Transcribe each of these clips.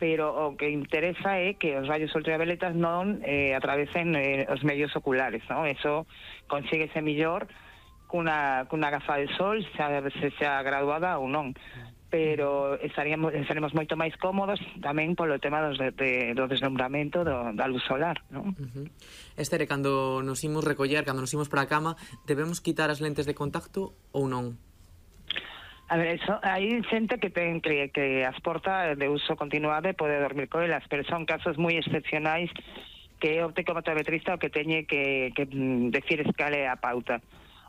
pero o que interesa é que os rayos ultravioletas non atravesen os medios oculares, non? Eso consíguese mellor cunha gafa de sol, xa graduada ou non, pero estaremos moito máis cómodos tamén polo tema do deslumbramento da luz solar, non? Estere, cando nos imos recoller, cando nos imos para a cama, debemos quitar as lentes de contacto ou non? A ver, hai xente que ten que as porta de uso continuado e pode dormir con elas, pero son casos moi excepcionais que o optometrista o que teñe que decir escale a pauta.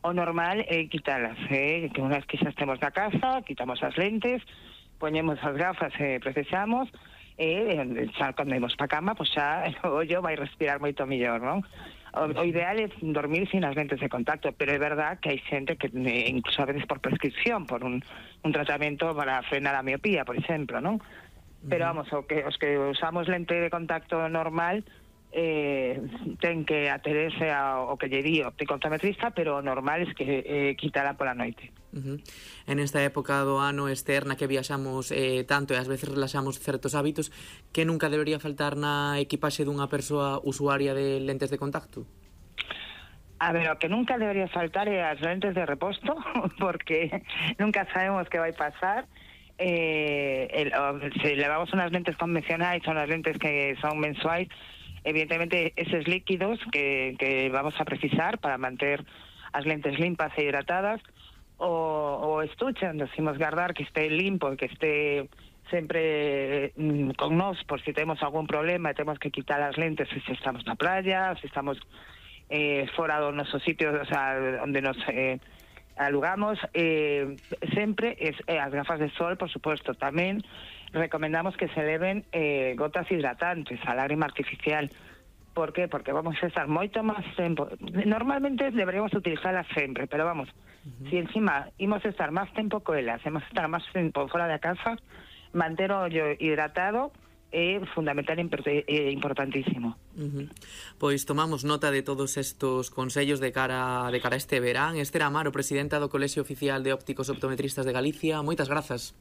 O normal é quitalas, que unha vez que xa estemos na casa, quitamos as lentes, poñemos as gafas e precisamos, e xa cando imos pa cama, pois xa o ollo vai respirar moito mellor, non? O ideal é dormir sin as lentes de contacto, pero é verdad que hai xente que incluso a veces por prescripción, por un tratamento para frenar a miopía, por exemplo, non? Pero vamos, os que usamos lente de contacto normal ten que aterese ao que lle di o optometrista, pero o normal é que quitala pola noite. En esta época do ano externa que viaxamos tanto e ás veces relaxamos certos hábitos, que nunca debería faltar na equipaxe dunha persoa usuaria de lentes de contacto? A ver, o que nunca debería faltar é as lentes de reposto, porque nunca sabemos que vai pasar. Se levamos unas lentes convencionais ou unas lentes que son mensuais, evidentemente eses líquidos que vamos a precisar para manter as lentes limpas e hidratadas, o estuche onde imos guardar que este limpo, que este sempre con nós por si temos algún problema e temos que quitar as lentes se estamos na playa, se estamos fora do noso sitio, o sea, onde nos alugamos, sempre as gafas de sol, por suposto. Tamén recomendamos que se leven gotas hidratantes, a lágrima artificial. Por qué? Porque vamos a estar moito máis tempo. Normalmente deberíamos utilizarlas sempre, pero vamos, si encima imos estar máis tempo coelas, imos estar máis tempo fora da casa, manter o ollo hidratado é fundamental e importantísimo. Pois tomamos nota de todos estos consellos de cara a este verán. Esther Amaro, presidenta do Colexio Oficial de Ópticos Optometristas de Galicia, moitas grazas.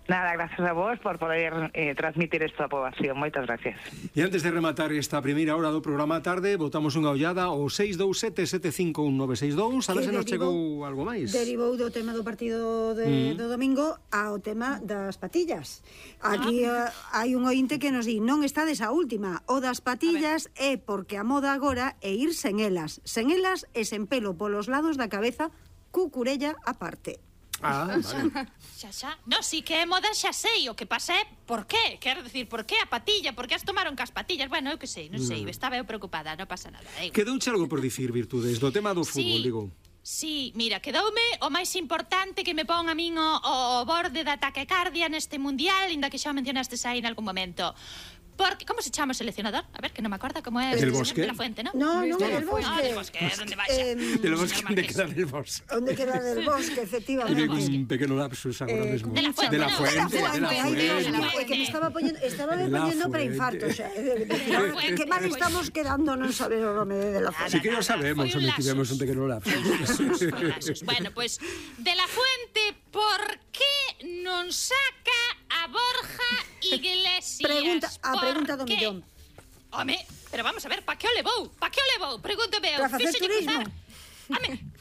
Nada, gracias a vos por poder transmitir esta aprobación. Moitas gracias. E antes de rematar esta primeira hora do programa tarde, botamos unha ollada ao 627-751-962, a ver se nos chegou algo máis. Derivou do tema do partido do domingo ao tema das patillas. Aquí hai un ointe que nos di: non estades a última, o das patillas é porque a moda agora é ir sen elas e sen pelo polos lados da cabeza, cucurella aparte. Vale. Xa. No, si que é moda xa sei. O que pasa é por qué. Quero dicir, por qué a patilla? Por que as tomaron cas patillas? Bueno, eu que sei, non sei. Estaba eu preocupada, non pasa nada. Quedouche algo por dicir, Virtudes, do tema do fútbol, digo. Sí, mira, quedoume o máis importante que me pon a min o borde da taquicardia neste mundial, inda que xa mencionastes aí en algún momento. Porque, como se chama o seleccionador? A ver, que non me acorda como é. Del Bosque. De la Fuente, ¿no? No, del Bosque. Del Bosque, ¿dónde vaya? Del Bosque, onde queda del Bosque. Onde queda del Bosque, efectivamente. Un pequeno lapsus agora mesmo. De la Fuente. De la Fuente. Que me estaba poniendo para infarto, xa. Que mal estamos quedando non saber o nome de la Fuente. Si que lo sabemos, onde tivemos un pequeno lapsus. Bueno, pues, de la Fuente, por que non saca a Borja Iglesias? Pregunta do millón. Home, pero vamos a ver, pa que o levou? Pregúntame eu. Para facer turismo.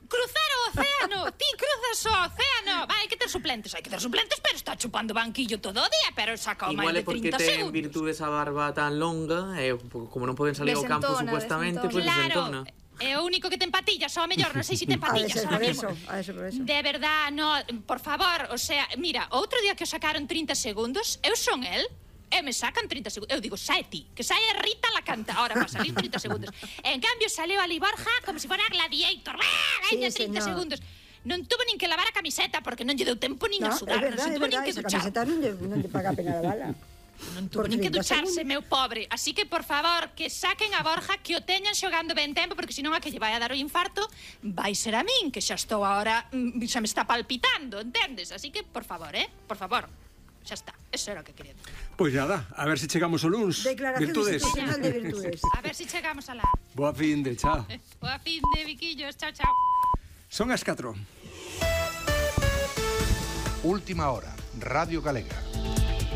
Cruzar o océano. Ti cruzas o océano. Hai que ter suplentes, pero está chupando banquillo todo o día, pero saca o máis de 30 segundos. Igual é porque ten Virtudes a barba tan longa, e como non poden salir ao campo supuestamente, pois desentona. É o único que ten patillas, ou mellor, non sei se ten patillas. Por eso. De verdad, no, por favor, o sea, mira, outro día que o sacaron 30 segundos, eu son el, e me sacan 30 segundos. Eu digo, sae ti, que sae Rita la cantadora para salir 30 segundos. En cambio, saleu ali Borja como se fora Gladiator. Veña, 30 segundos. Non tuvo nin que lavar a camiseta porque non lle deu tempo nin a sudar. Non se tuvo nin que duchar. Esa camiseta non lle paga a pena la bala. Non tuvo nin que ducharse, meu pobre. Así que, por favor, que saquen a Borja, que o teñan xogando ben tempo, porque senón a que lle vai a dar o infarto vai ser a min, que xa estou agora, xa me está palpitando, entendes? Así que, por favor, por favor. Xa está, eso era o que quería. Pois nada, a ver se chegamos ao luns. Declaración institucional de Virtudes. A ver se chegamos a la. Boa fin de, chao. Boa fin de, Viquillos, chao, chao. Son as 4. Última hora, Radio Galega.